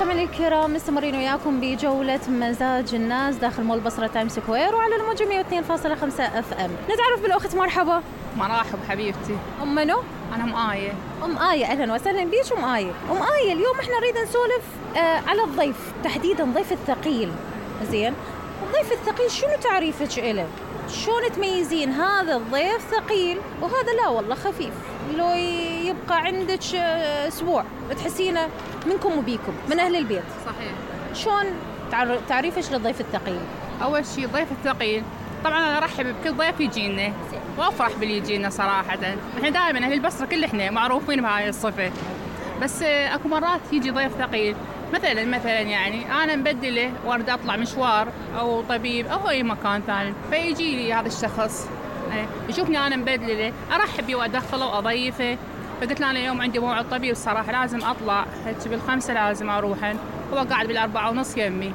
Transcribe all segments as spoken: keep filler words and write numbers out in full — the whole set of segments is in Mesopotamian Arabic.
مستمعينا الكرام، مستمرين وياكم بجولة مزاج الناس داخل مول بصرة تايم سكوير وعلى الموجة مئة واثنين فاصلة خمسة اف ام. نتعرف بالأخت. مرحبا. مرحب حبيبتي. أم منو؟ أنا أم آية. أم آية، أهلا وسهلا بيش أم آية. أم آية، اليوم إحنا نريد نسولف آه على الضيف، تحديدا ضيف الثقيل. زين، الضيف الثقيل شنو تعريفك إله؟ شلون تميزين هذا الضيف ثقيل وهذا لا والله خفيف، لو يبقى عندك أسبوع تحسينه منكم وبيكم من أهل البيت؟ صحيح. شلون تعريفش للضيف الثقيل؟ أول شيء الضيف الثقيل طبعا أنا أرحب بكل ضيف يجينا وأفرح باللي يجينا صراحة. إحنا دائما أهل البصرة كل إحنا معروفين بهاي الصفة، بس أكو مرات يجي ضيف ثقيل مثلا مثلا يعني أنا مبدلة وارد أطلع مشوار أو طبيب أو أي مكان ثاني، فيجي لي هذا الشخص يشوفني أنا مبدلة، أرحب بيه وأدخله وأضيفه. فقلت له أنا اليوم عندي موعد طبيب الصراحة لازم أطلع، هيك بالخمسة لازم أروح، هو قاعد بالأربعة ونص يمي،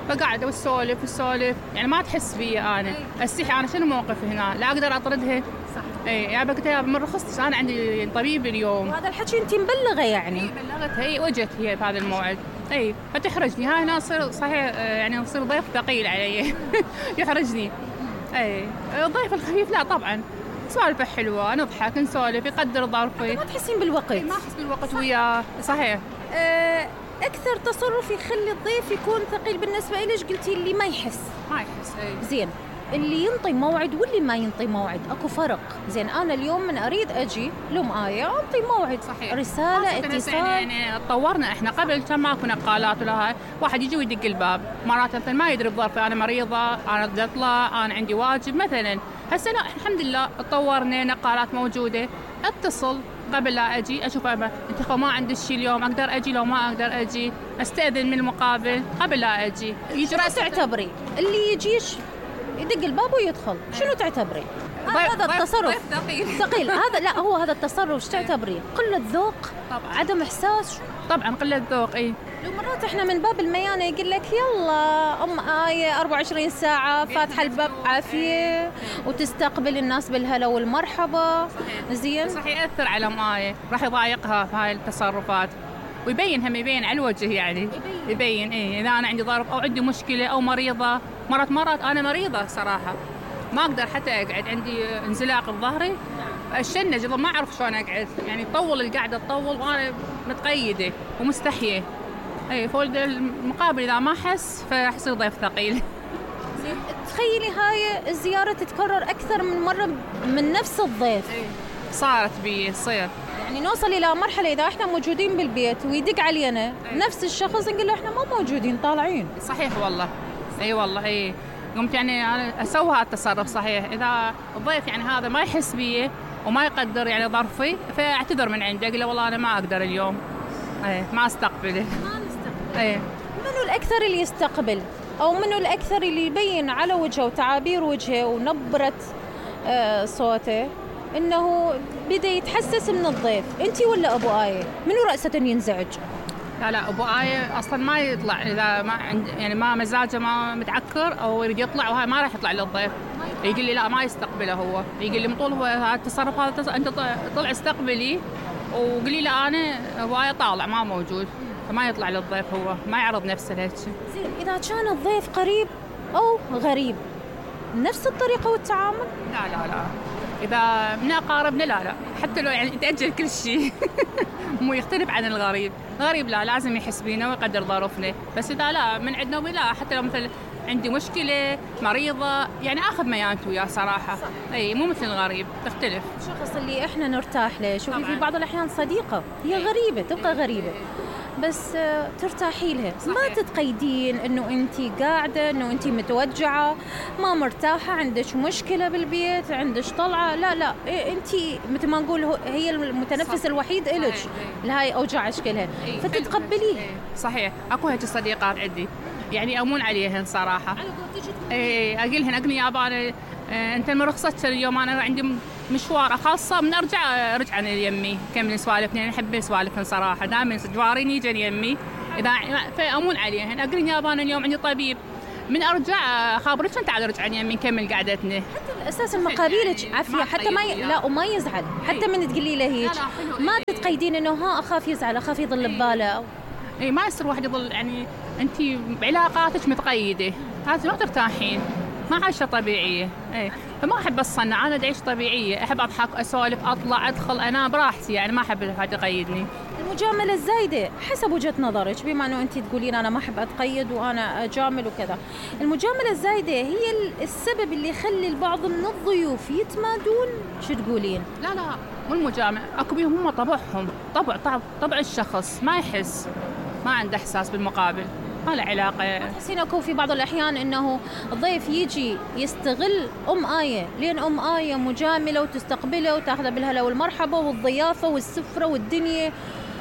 فقاعد وسولف وسولف يعني ما تحس بي أنا استحي. أنا شنو موقف هنا؟ لا أقدر أطردها. صح. إيه يعني قلت لها من رخصتش أنا عندي طبيب اليوم. وهذا الحكي أنت مبلغة يعني؟ إيه بلغتها، هي وجت هي بهذا الموعد. اي فتحرجني، هاي هنا اصير صحيح يعني اصير ضيف ثقيل علي. يحرجني. اي الضيف الخفيف لا طبعا سوالفه حلوه، نضحك نسولف، يقدر ظرفي. ما تحسين بالوقت؟ ما احس بالوقت وياه. صحيح. أه اكثر تصرف يخلي الضيف يكون ثقيل بالنسبه ليش قلتي اللي ما يحس؟ ما يحس. اي زين، اللي ينطي موعد واللي ما ينطي موعد اكو فرق. زين، انا اليوم من اريد اجي لأم آية انطي موعد. صحيح. رساله اتصال يعني تطورنا احنا، قبل كان ماكو نقالات ولا هاي، واحد يجي ويدق الباب مرات مثلا ما يدري بظرفي، انا مريضه، انا بدي اطلع، انا عندي واجب مثلا. هسه لا الحمد لله تطورنا، نقالات موجوده، اتصل قبل لا اجي اشوف انت ما عندك شيء اليوم، اقدر اجي لو ما اقدر اجي، استاذن من المقابل قبل لا اجي. يجي تعتبري اللي يجيش يدق الباب ويدخل شنو تعتبري؟ هذا التصرف ثقيل. ثقيل هذا لا هو هذا التصرف ايش تعتبريه؟ قلة ذوق؟ طبعا. عدم احساس؟ طبعا قلة ذوق. اي لو مرات احنا من باب الميانه يقول لك يلا ام آية أربعة وعشرين ساعه فاتحه الباب عافيه وتستقبل الناس بالهلا والمرحبا. زين، صح ياثر على ام آية، راح يضايقها في هاي التصرفات ويبين هم يبين على الوجه يعني يبين, يبين. إيه إذا أنا عندي ظرف أو عندي مشكلة أو مريضة، مرات مرات أنا مريضة صراحة ما أقدر حتى أقعد، عندي انزلاق بظهري الشنج ما أعرف شلون أقعد، يعني طول القعدة تطول وأنا متقيدة ومستحية. أي فولد المقابل إذا ما أحس فأحصل ضيف ثقيل. تخيلي هاي الزيارة تتكرر أكثر من مرة من نفس الضيف. أي. صارت بي تصير يعني نوصل إلى مرحلة إذا إحنا موجودين بالبيت ويدق علينا أي. نفس الشخص نقول له إحنا ما موجودين طالعين. صحيح والله. أي والله. أي قمت يعني أنا أسوي هذا التصرف. صحيح إذا الضيف يعني هذا ما يحس بي وما يقدر يعني ظرفي فأعتذر من عنده، أقول له والله أنا ما أقدر اليوم. أي ما أستقبله. ما نستقبل. أي منو الأكثر اللي يستقبل أو منو الأكثر اللي يبين على وجهه وتعابير وجهه ونبرة آه صوته إنه بدأ يتحسس من الضيف؟ أنتي ولا أبو آية؟ منو رأسة ينزعج؟ لا لا أبو آية أصلاً ما يطلع إذا ما عند يعني ما مزاجه ما متعكر أو يريد يطلع وهاي ما راح يطلع للضيف. يقول لي لا ما يستقبله، هو يقول لي مطول هو هذا التصرف هذا تص... أنت طلع استقبلي وقولي له أنا أبو آية طالع ما موجود، فما يطلع للضيف، هو ما يعرض نفسه لهيك. زين، إذا كان الضيف قريب أو غريب نفس الطريقة والتعامل؟ لا لا لا إذا من أقاربنا لا لا حتى لو يعني تأجل كل شيء. مو يختلف عن الغريب. الغريب لا لازم يحس بينا ويقدر ظروفنا، بس إذا لا من عندنا ولا حتى لو مثل عندي مشكلة مريضة يعني أخذ ميانته وياه صراحة. صح. أي مو مثل الغريب، تختلف. الشخص اللي إحنا نرتاح له، شوفي في بعض الأحيان صديقة هي غريبة تبقى غريبة بس ترتاحي لها. صحيح. ما تتقيدين انه انت قاعده انه انت متوجعه ما مرتاحه، عندك مشكله بالبيت، عندك طلعه، لا لا انت مثل ما نقول هي المتنفس. صح. الوحيد إلك لهاي اوجاع اشكالها. فتتقبليه. صحيح. اكو هيك صديقات عندي يعني امون عليهن صراحه. اي اقولهن اقني يابا انت من رخصتك اليوم انا عندي مشوار خاصه من ارجع رجع انا يمي كمل سوالفنا، يعني احب سوالفن صراحه دائما جوارين يجن يمي اذا فامون عليهن اقول يابا انا اليوم عندي طبيب من ارجع خابرك انت على رجع يمي نكمل قعدتنا. حتى الاساس المقابلك يعني عافيه حتى ما ي... لا وما يزعل حتى من تقولي له هيك ما تتقيدين انه ها اخاف يزعل اخاف يضل بباله. اي ما يصير واحد يظل يعني انت بعلاقاتك متقيده، هذا ما ترتاحين، ما عايشه طبيعيه. اي فما احب الصنع، انا اعيش طبيعيه، احب اضحك اسولف اطلع ادخل انام براحتي، يعني ما احب حد يقيدني. المجامله الزايده حسب وجهه نظرك، بما انه انت تقولين انا ما احب اتقيد وانا اجامل وكذا، المجامله الزايده هي السبب اللي يخلي البعض من الضيوف يتمادون، شو تقولين؟ لا لا مو المجامله، اكو بيهم هم طبعهم، طبع طبع طبع الشخص ما يحس، ما عنده احساس بالمقابل، ما له علاقه. تحسين اكو في بعض الاحيان انه الضيف يجي يستغل ام آية، لين ام آية مجامله وتستقبله وتاخذه بالهلا والمرحبا والضيافه والسفره والدنيا،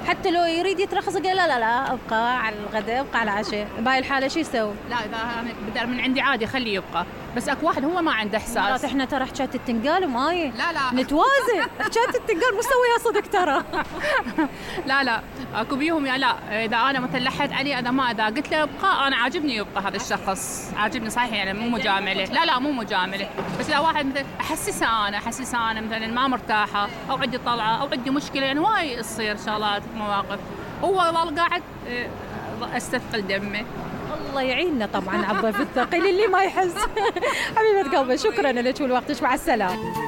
حتى لو يريد يترخص قال لا لا لا ابقى على الغداء، ابقى على العشاء، بهاي الحاله شو يسوي؟ لا اذا بدل من عندي عادي خليه يبقى، بس اكو واحد هو ما عنده احساس. مرات احنا ترى حكايه التنقال ام آية لا لا نتوازن، حكايه التنقال مو سويها صدق ترى. لا لا اكو بيهم يا لا، اذا انا مثلا لحت عليه اذا ما اذا قلت له ابقى، انا عاجبني يبقى هذا الشخص، عاجبني صحيح، يعني مو مجامله، لا لا مو مجامله، بس اذا واحد مثلا احسسها انا احسسها انا مثلا ما مرتاحه او عندي طلعه او عندي مشكله، يعني وايد تصير شغلات مواقف، هو ظل قاعد استثقل دمه. الله يعيننا طبعا على الضيف الثقيل اللي ما يحس. حبيبه قلبي شكرا لك ولوقتك، مع السلامه.